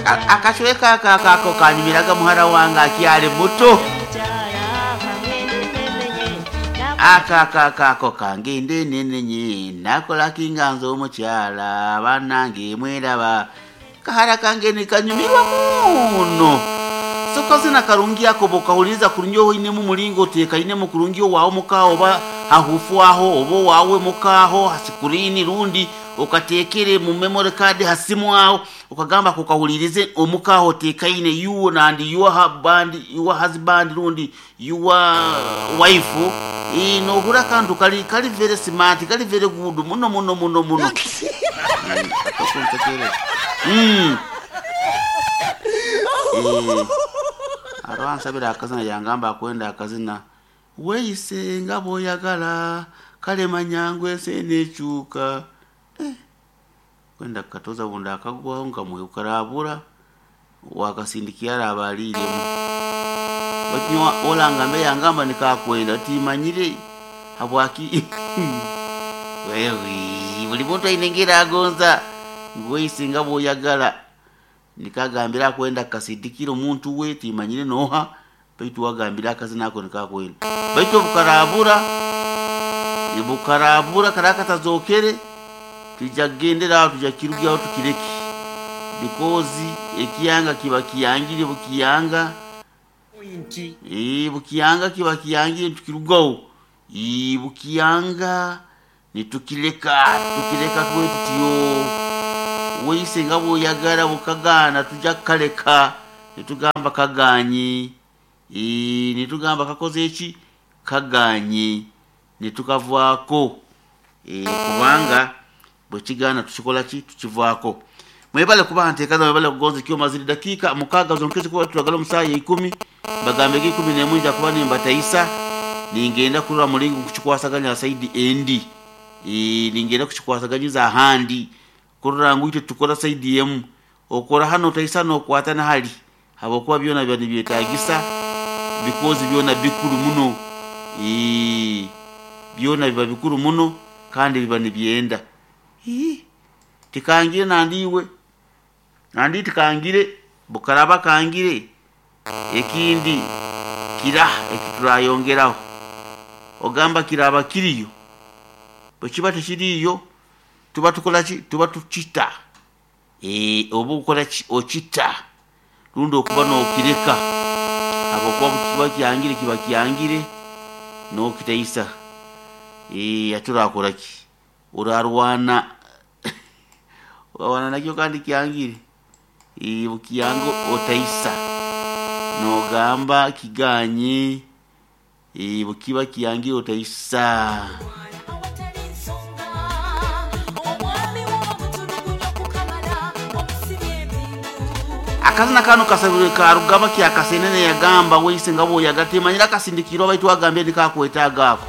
Akacweka aka ako kanyumiraga muhara wange akyali muto. Aka ako kangende nenenye nakola kinga nze omukyala bannange mweraba kahara kange nikanyumirwa muno. Sokozina karungi ako bokahuliriza kurungi, oinemu mulingo otekainemu kurungi owaawe muka oba hahufu aho oba owaawe mukaho hasikirini, rundi okatekere mu memory card hasimu aho, okagamba kukahulirize omukaho otekaine, you and your husband, your husband rundi your wife. Nohura akantu kali very smart, kali very good muno muno muno muno. Aro ansabira akazina, yangamba akwenda akazina weeyise nga bw'oyagala, kale manyangu ensi eneekyuka. Kwenda kukatoza bundi akagwaho nkamwe karabura wakasindikia araba aliiremu. Baitu nyowe orangambe yangamba nikakwenda timanyire habwaki. Wewe buli muntu aine engeri agonza ngu weeyise nga bw'oyagala, nikagambira akwenda kukasindikira omuntu we timanyire nooha, baitu wagambire akazina ako nikakwenda, baitu obukarabura bukarabura karaba katazokere, twija kugendera aho, twija kukirugyaho tukireke, because ekiyanga kiba kiyangire bukiyanga. Bukiyanga kiba kiyangire, nitukirugaho. Bukiyanga nitukireka, tukireka tube tutyo. Weeyise nga bw'oyagala bukagaana, tujja kukaleka nitugamba kaganye, nitugamba kakoze eki, kaganye, nitukavaako, kubanga bwekigaana tukikola ki, tukivaako. Mwebale kuba nteekaza, mwebale kugonza ekyoma. Ziri dakiika 6 zonkezi kuba turagala omu saaha ya 10, bagambege 11 nja kuba nimbataisa, ningenda kurora mulingo nkukikwasaganya side endi. Ningenda kukikwasaganyiza ahandi kurora ngu itwe tukora side emu, okora hanu otaisa nokwata na hali, habwokuba byona biba nibyetagisa, because byona bikuru muno. Byona biba bikuru muno kandi biba nibyenda. Tikangire nandiiwe nandi tikangire bukaraba kangire ekindi kiraha ekiturayongeraho, ogamba kiraba kiriyo, bwekiba tikiriyo tuba tukora ki, tuba tukita. Oba okora ki, okita rundi okuba nokireka, habwokuba kiba kyangire, kiba kyangire nokitaisa. Hati orakora ki, orarwana, orarwana nakyo kandi kyangire. Bukiyanga otaisa nogamba kiganye. Bukiba kyangire otaisa. Akazina kanu kasabirwe karugaba kyakasenene, yagamba weise nga bwoyaga, timanyire akasindikirwa, baitu agambye nikakwetaaga ako.